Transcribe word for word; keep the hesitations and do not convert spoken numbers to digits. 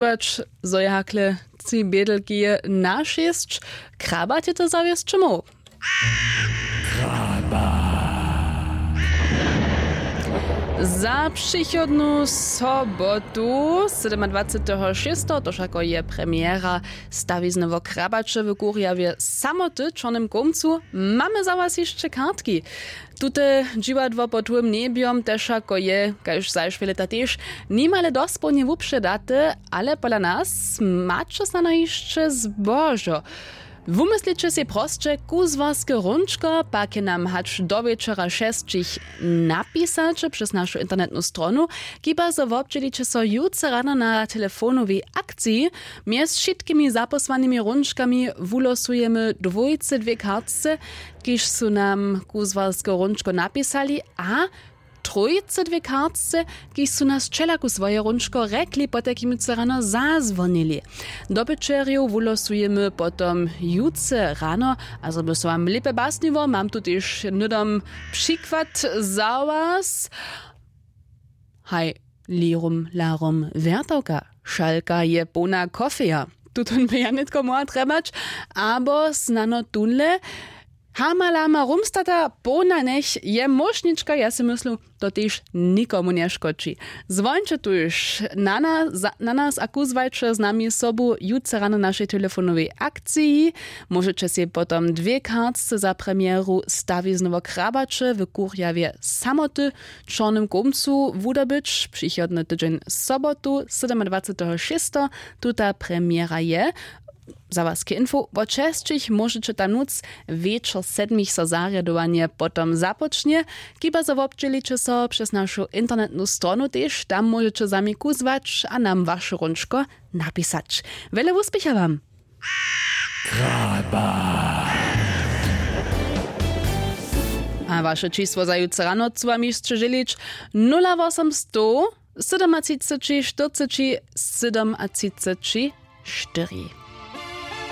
Wać zo je hakle tři bědelki je na šěsć. Krabat je to zawěsć móhł. Za přichodnu sobotu sydomadwaceteho šěsteho to wšako je premiera stawizny wo krabaće w kurjawje samoty w čornym kołmcu. Mamy za was hišće kartki. Tute dźiwadło pod hłym njebjom tež wšako je kaž zašwě lěta tež nimale dospołnje wupředate, ale pola nas maće snano hišće zbožo. Wumysliće sej prosće kuzłarske hrónčko, pak je nam hač do wječora šesćich napisać přez našu internetnu stronu. Kiba zo wobdźěliće so jutře rano na telefonowej akciji. Mjez wšitkimi zapósłanymi hrónčkami wulosujemy dwójce dwě kartce, kiž su nam kuzłarske hrónčko napisali, a trójce dwě kartce, kiž su nas wčelaku swoje hrónčko rjekli, potajkim jutře rano zazwonili. Dobyćerjow wulosujemy potom jutře rano. A zo by so wam lěpje basniło, mam tu tež hnydom přikład za was. Haj, lirum larum wjertawka, šalka je połna kofeja. Tutón by ja nětko móhła trjebać, abo snano tónle, hamalama rumstata połna njech je móšnička. Ja sej myslu, to tež nikomu nješkodźi. Zwóńće tuž na nas, na nas a kuzłajće z nami sobu jutře rano w našej telefonowej akciji. Móžeće sej potom dwě kartce za premieru stawizny wo krabaće w kurjawje samoty w čornym kołmcu wudobyć přichodny tydźeń sobotu sydomadwaceteho šěsteho. Tuta premiera je. Za was k info, wot šesćich móžeće tam nutř, wječor sedmich so zarjadowanje potom započnje. Kiba zo wobdźěliće so přez našu internetnu stronu tež, tam móžeće za mi kuzłać a nam waše hrónčko napisać. Wjele wuspěcha wam. A waše čisło za jutře rano chcu wam hišće žělić: nula wosomstow sydomatřiceći štyrceći sydomatřiceći štyri.